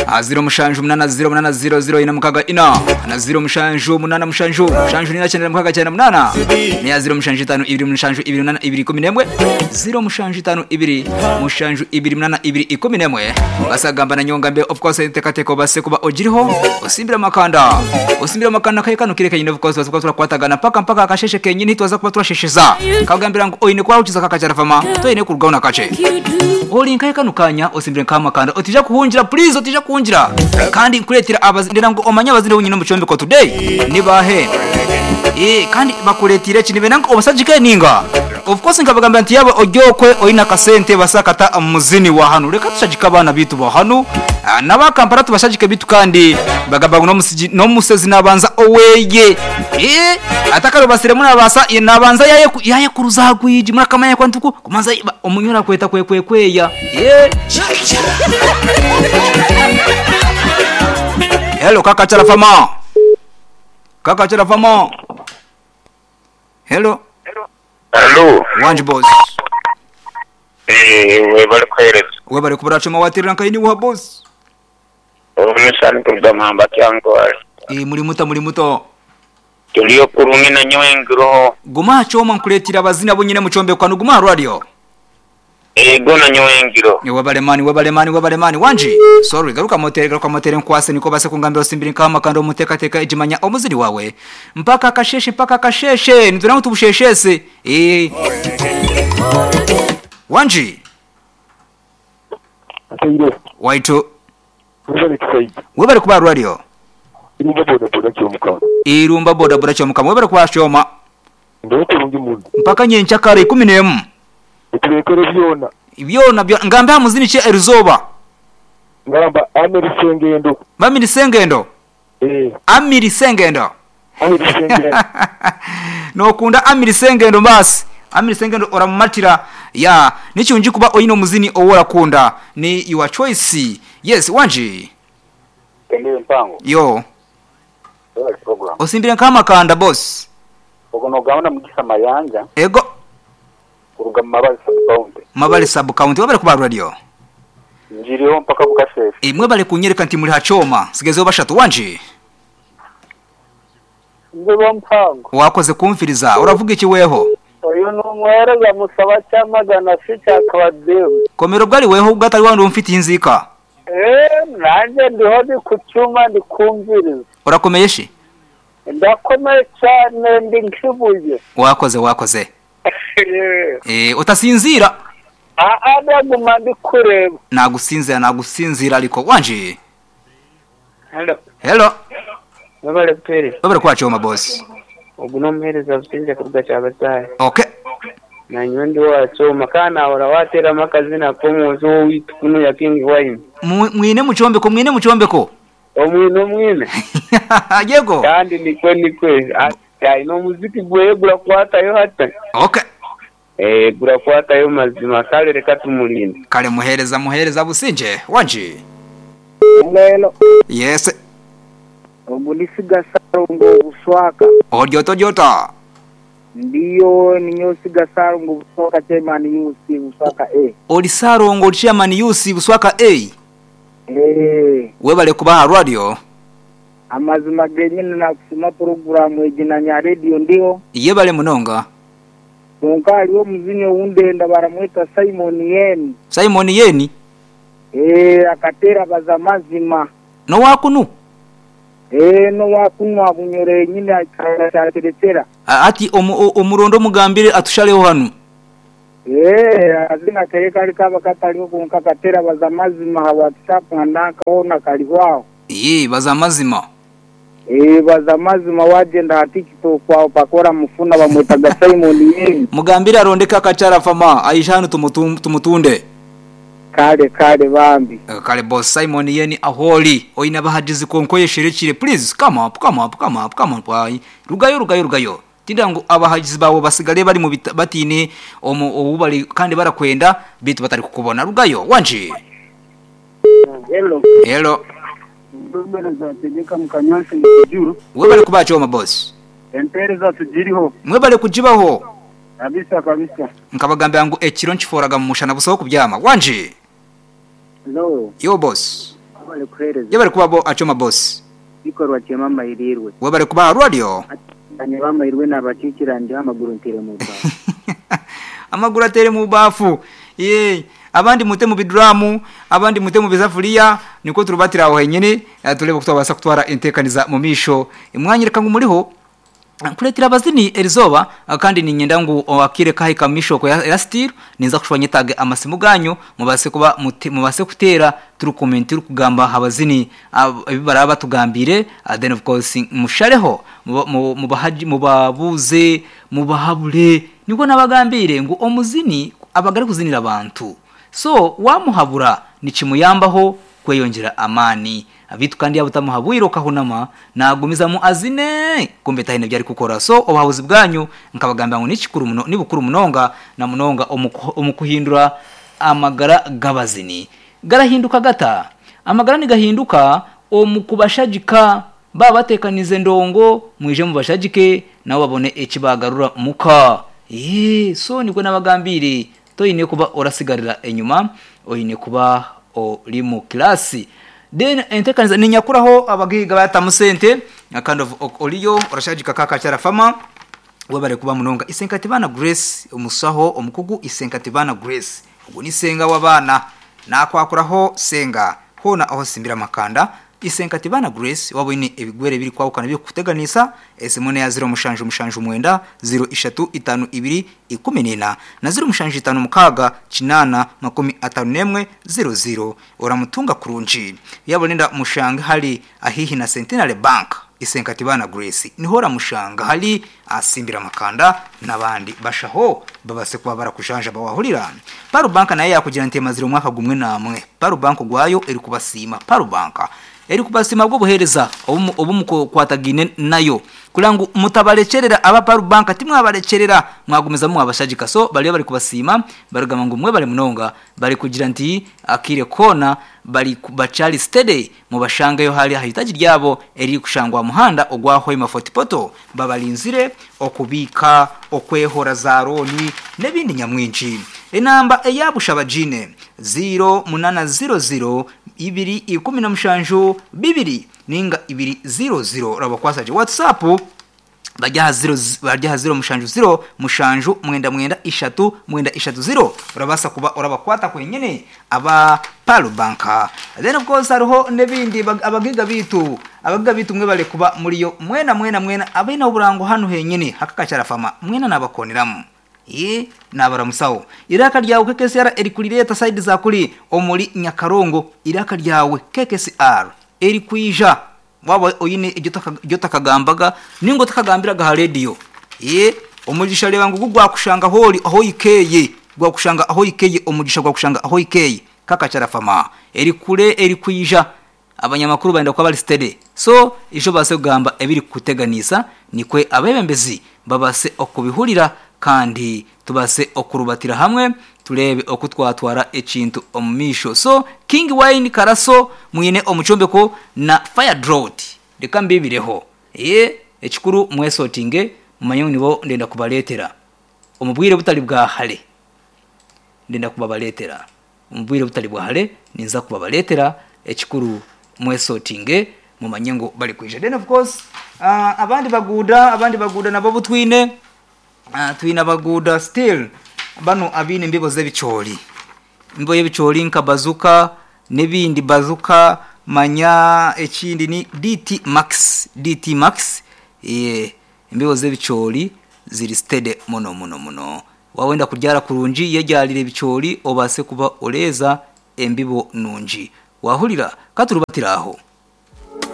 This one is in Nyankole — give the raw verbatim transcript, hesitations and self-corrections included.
Ah, ziro mushanju munana ziro munana ziro ziro ina mukaga ina na ziro mushanju munana mushanju mushanju nina cyenda mukaga cyenda munana niya ziro mushanju itanu ibiri mushanju ibiri munana ibiri ikumi n'emwe ziro mushanju itanu ibiri mushanju ibiri munana ibiri ikumi n'emwe basagamba na nyonga mbe of course tekateko base kuba ogiriho osimbira makanda osimbira makanda kaye kano kireka nyine of course base kuba turakwatagana mpaka mpaka akasheshe kenyine twaza kuba turashesheza kagambira ngo oyine kwa ukiza kakachara fama toyine kurugaho kache ori nkaye kano kanya osimbire nkamakanda otija kuhungira please otija kuhungira kandi nkuretera abazindira ngo omanye abazinde wenyine mu cyombeko today nibahe eh kandi bakuretire kintu benanga obasajike ninga of course nkabagamba nti yaba ogyokwe oyina kasente basakata muzini wa hano reka tushajika abana bitu ba hano Ah, n'abakampala tubashajike bitu kandi bagamba ngo nomusiji nomusezi nabanza oweye eh atakaro basire munabasa nabanza yaye ku- yaye kuruzagwiji murakamanya kwa ntuku kumanza omunyura kweta kwe kwe kweya eh Hello kaka chala fama kaka chala fama Hello Hello. Wanji boss Eh, webale kuhereza. webale kubura choma watirira nkaini wa boss Omusani kuruga muhamba kyangwale. eh muri muto muri muto Tuliyo kurungi na nyowe guma choma nkuletira abazina bo nyine muchombe kwanu guma radio Ego na nyowe Ni webale mani webale mani webale mani wanji sorry garuka motere garuka motere nkwase niko base kungambira osimbiri nkama kando muteka teka ijimanya omuzini wawe mpaka kasheshe mpaka kasheshe nituna tubusheshese eh wanji Akaire, waitu webale kisaidi. webale kuba radio Irumba boda boda kyomukama. irumba boda boda chomukama webale kuba choma Ndo kurungi mundu. mpaka nyencha kare ikumi n'emu Eturekere byona. byona byo ngambe hamuzini che erizoba Ngamba amiri sengendo. bamiri sengendo Eh, amiri sengendo amiri sengendo. nokunda amiri sengendo mbasi amiri sengendo oramumatira ya nichunji kuba oyino muzini oworakunda ni your choice yes wanji Ndiyo mpango yo webale program osimbire nkamakanda boss ogono gahunda mugisa mayanja ego kuruga mu mabali sub county mabale sub county wabale kuba radio njiriho mpaka bukasheshe imwe bale kunyereka nti muri hachoma sigezeho bashatu wanji Ndibo mpango wakoze kumfiriza uravuga iki weho uyu ni umuhereza musaba cyamagana si cyakabademu komero bwari weho ubwo wandi umfitiye inzika eee nanjye ndiho ndi ku cyuma ndi kumviriza urakomeye shi ndakomeye cyane ndi nk'ibuye wakoze wakoze eh utasinzira aha ndaguma ndi kureba nagusinzira nagusinzira ariko wanje Hello. hello Webale kupereza. babere kwacho boss Ogu n'omuheereza businze kuruga Kyabasaaya. okay Nanywe ndi wachoma kana ahora wateeramu akazina k'omwozi owaitu kunu ya King Wine. Mu- mwine muchombeko mwine muchombeko Omwine omwine. yego Kandi nikwe nikwe. Aine omuziki gweye gurakwatayo hata. okay Eh gurakwatayo mazima kale reka tumulinde. kale muhereza muhereza businje wanje lelo yes ubu ni sigasaro ngo buswaka odyota odyota ndiyo ninyo sigasaro ngo buswaka chairman yusi buswaka e oli sarongo oli chairman yusi buswaka a eh webale kubaha radio amazima genyine nakusima poroguramu egi na nya radio ndiho yebale munonga konka hariho omuzini owundenda baramweta Simon Yen Simon yeni eh akatera baza mazima nowakunu eh no wakunwa bunyore nyine akarateretera A- ati omu- o- omurondo omugambire atushaleho hanu eh azina kare kari kaba katariho konka katera baza mazima ha WhatsApp nandakaona kariho ye baza mazima eh baza mazima wagenda ha TikTok aho pakora mufuna bamwetaga Simon Yen mugambire arondeke akachara fama aisha hanu tumutum- tumutunde kale kale bambi Eh, kale boss Simon yeni aholi oina bahajizi konkoye sherekire please come up come up come up come up ai rugayo rugayo rugayo tinda ngo abahajizi bawo basigale bari mu bita- batine omu obubali kandi barakwenda bitu batari kukubona rugayo wanje hello hello Mbereza tegeka mukanywansi mukijuru webale kubacho ma boss empereza tugiriho mwebale kujibaho kabisa kabisa nkabagambira ngo ekiro nkiforaga mu mushana busoho kubyama wanje hello yo boss Wabale kuhereza. Yabari kuba bo achoma boss. Bikorwa kyema mayirirwe. Wabari kuba radio. Anye bamayirwe nabakikiranje amaguru ntere mu ba. Amaguru atere mu bafu. Ye abandi mute mu bidramu, abandi mute mu bizafuria, niko turubatira aho henyene, eh, turebe kutwabasa kutwara intekaniza mu misho. Imwanyireka ngo muriho kuretera abazini erizoba ah, kandi ninyenda ngu wakire kahi kamisho ko ya, ya steel ninza kushwanya tage amasimu ganyu mubase kuba mute- mubase kutera turu comment turu kugamba habazini ebibara batugambire ah, then of course mushareho muba- mu- mubahaji mubabuze mubahabure niko nabagambire ngu omuzini abagari kuzinira abantu so wamuhabura nikimuyambaho kweyongera amani abitu kandi yabutamuhabwira ukahunama nagumizamu azine kumbe tahine byari kukora so obuhabuzi bwanyu nkabagambira ngo nikikuru muno nibukuru munonga na munonga omu- omu kuhindura amagara gabazini garahinduka gata amagara nigahinduka omu kubashagika baba batekanize ndongo mwije mubashagike nabo babone ekibagarura muka Yee, so niko nabagambire toyine kuba orasigarira enyuma oyine kuba ori mu kirasi then entekaniza ninyakuraho abagiga batamu sente kind of ok- oriyo orashagika kaka cyarafama wabare kuba munonga isenkatibana Grace umusaho omukugu isenkatibana Grace ubwo ni senga w'abana nakwakuraho senga hona aho simbira makanda isenkatibana Grace wabone ebigwere biri kwawukana biri kuteganisa esimone ya zero mushanju mushanju mwenda zero ishatu itanu ibiri ikumi nina na zero mushanju itanu mukaga chinana makumi atanu nemwe zero zero oramutunga kurunji yabonenda mushanga hali ahihi na Centenary Bank isenkatibana Grace nihora mushanga hali asimbira makanda nabandi bashaho babase kuba barakushanja bawahurira Paru Bank naye yakugira ntema zero mwaka gumwe namwe Paru Bank gwayo eri kubasima Paru Bank eri kubasima bwo buhereza obumu obumukwatagine nayo kulangu mutabarekerera aba Paru Bank timwabarekerera mwagumiza mwabashagika so bali bari kubasima barugama ngo mwe bari munonga bari kugira nti akire kona bari ku- bacari steady mubashangayo hali ahitaji ryabo eri kushangwa muhanda ogwa Hoima Fortipoto babalinzire okubika okwehora za roni n'ebindi nyamwinshi enamba eyabusha jine zero munana zero zero ibiri ikumi na mushanju bibiri ninga ibiri zero zero rabakwasaje WhatsApp bajya zero bajya zero mushanju zero mushanju mwenda mwenda ishatu mwenda ishatu zero urabasa kuba urabakwata kwenyene aba Palu Banka then of course hariho n'ebindi bag- abagiga bitu abagiga bitu mwe bale kuba muriyo mwena mwena mwena abina oburango hano henyene hakakacyarafama mwena nabakoneramu ye nabaramusawo iraka ryawe K K S R eri kurireta side za kuri omuri Nyakarongo iraka ryawe K K S R eri kwija waba oyine ibyo takagambaga ningo takagambiraga ha radio ye omugisha reba ngo gwakushanga hori aho ikeye gwakushanga aho ikeye omugisha gwakushanga aho ikeye kakacyarafama eri kure eri kwija abanyamakuru baenda kuba bari steady so ijo base kugamba ebiri kuteganisa nikwe abebembezi babase okubihurira kandi tubase okurubatira hamwe turebe okutwatwara ekintu omumisho so King Wine Karaso mwine omucombeko na Fire Drought reka mbibireho ye ekikuru mwesotinge mumanye nibo ndenda kubaletera omubwire butali bwa hale ndenda kubabaletera omubwire butali bwa hale ninza kubabaletera ekikuru mwesotinge mumanye ngo bali kwija then of course uh, abandi baguda abandi baguda nabo butwine uh, twine abaguda still bano abine imbibo z'ebicori imbibo y'ebicori nka bazuka n'ebindi bazuka manya ekindi ni D T Max D T Max eh imbibo z'ebicori ziri steady muno muno muno wawenda kuryara kurungi yeryarire ebicori obase kuba oreza embibo nungi wahurira katurubatiraho.